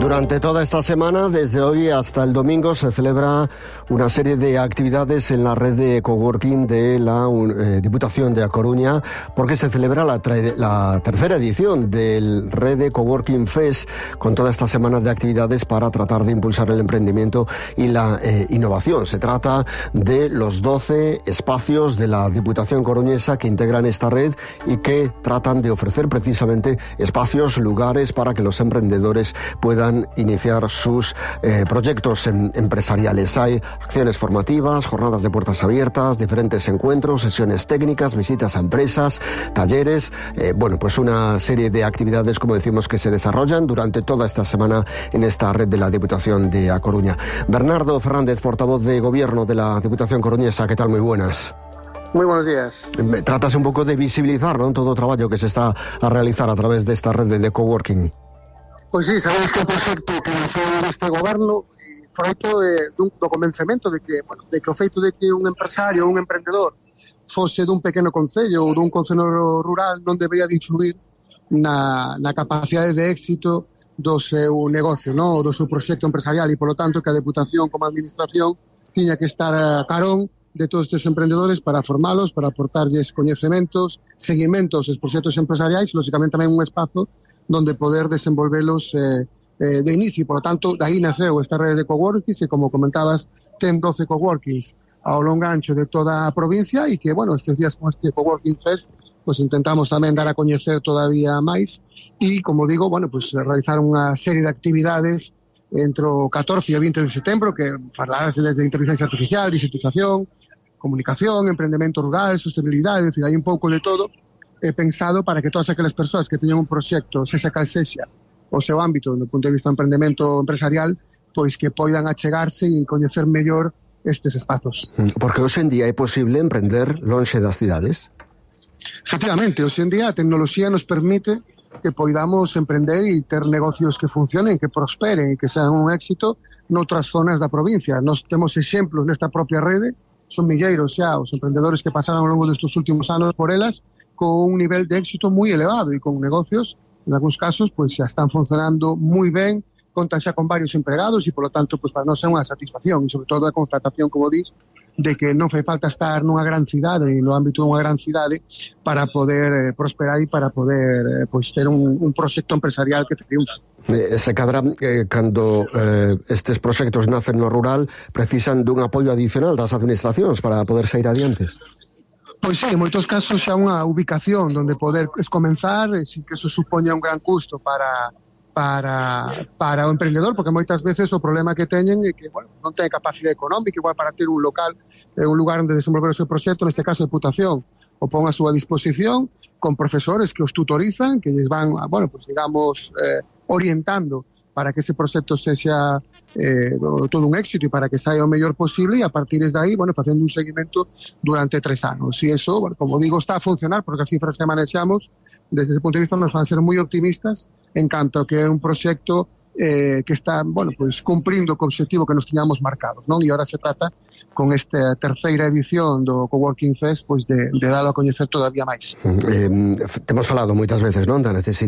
Durante toda esta semana, desde hoy hasta el domingo, se celebra una serie de actividades en la red de coworking de la Diputación de A Coruña, porque se celebra la tercera edición del Red de Coworking Fest, con toda esta semana de actividades para tratar de impulsar el emprendimiento y la innovación. Se trata de los 12 espacios de la Diputación coruñesa que integran esta red y que tratan de ofrecer precisamente espacios, lugares para que los emprendedores puedan iniciar sus proyectos empresariales. Hay acciones formativas, jornadas de puertas abiertas, diferentes encuentros, sesiones técnicas, visitas a empresas, talleres, pues una serie de actividades, como decimos, que se desarrollan durante toda esta semana en esta red de la Diputación de A Coruña. Bernardo Fernández, portavoz de Gobierno de la Diputación coruñesa, ¿qué tal? Muy buenas. Muy buenos días. Tratas un pouco de visibilizar, ¿no?, todo o traballo que se está a realizar a través desta rede de coworking. Pois sí, sabéis que o proxecto que nació deste goberno froito do convencemento de que o feito de que un empresario ou un emprendedor fose dun pequeno concello ou dun concello rural non debería de influir na capacidade de éxito do seu negocio, no? Do seu proxecto empresarial, e polo tanto que a Deputación como administración tiña que estar a carón de todos estes emprendedores para formalos, para aportarlles coñecementos, seguimentos aos proxectos empresariais e, lógicamente, tamén un espazo donde poder desenvolvelos de inicio. Por lo tanto, de aí naceu esta rede de coworkings e, como comentabas, ten 12 coworkings ao longo ancho de toda a provincia e que, estes días con este Coworking Fest, pues intentamos tamén dar a coñecer todavía máis e, como digo, realizar unha serie de actividades entre o 14 e o 20 de setembro que falarase desde inteligencia artificial, digitalización, comunicación, emprendemento rural, sostenibilidade, é dicir, hai un pouco de todo pensado para que todas aquelas persoas que teñan un proxecto, sexa cal sexa o seu ámbito do punto de vista do emprendemento empresarial, pois que poidan achegarse e coñecer mellor estes espazos. Porque hoxe en día é posible emprender lonxe das cidades? Efectivamente, hoxe en día a tecnoloxía nos permite que poidamos emprender e ter negocios que funcionen, que prosperen e que sean un éxito noutras zonas da provincia. Nos temos exemplos nesta propia rede, son milleiros xa os emprendedores que pasaron ao longo destes últimos anos por elas, con un nivel de éxito moi elevado e con negocios, en algúns casos, xa están funcionando moi ben, contan xa con varios empregados e, polo tanto, para nós é unha satisfacción e, sobre todo, a constatación, como dis, de que non fai falta estar nunha gran cidade e no ámbito dunha gran cidade para poder prosperar e para poder ter un proxecto empresarial que triunfe. Se cadra, cando estes proxectos nacen no rural, precisan dun apoio adicional das administracións para poder sair adiante? Pois sí, en moitos casos xa unha ubicación onde poder comenzar, sin que eso supoña un gran custo para o emprendedor, porque moitas veces o problema que teñen é que non ten capacidade económica, igual para ter un local, un lugar onde desenvolver o seu proxecto, neste caso a Deputación o pon a súa disposición con profesores que os tutorizan, que lles van, orientando para que ese proxecto sexa todo un éxito e para que saia o mellor posible, e a partir de aí, facendo un seguimento durante 3 anos. E iso, como digo, está a funcionar, porque as cifras que manexamos desde ese punto de vista nos van a ser moi optimistas en canto que é un proxecto que está, cumprindo co objetivo que nos tiñamos marcados, non? E agora se trata, con esta terceira edición do Coworking Fest, de dalo a coñecer todavía máis. Temos falado moitas veces, non, da necesidade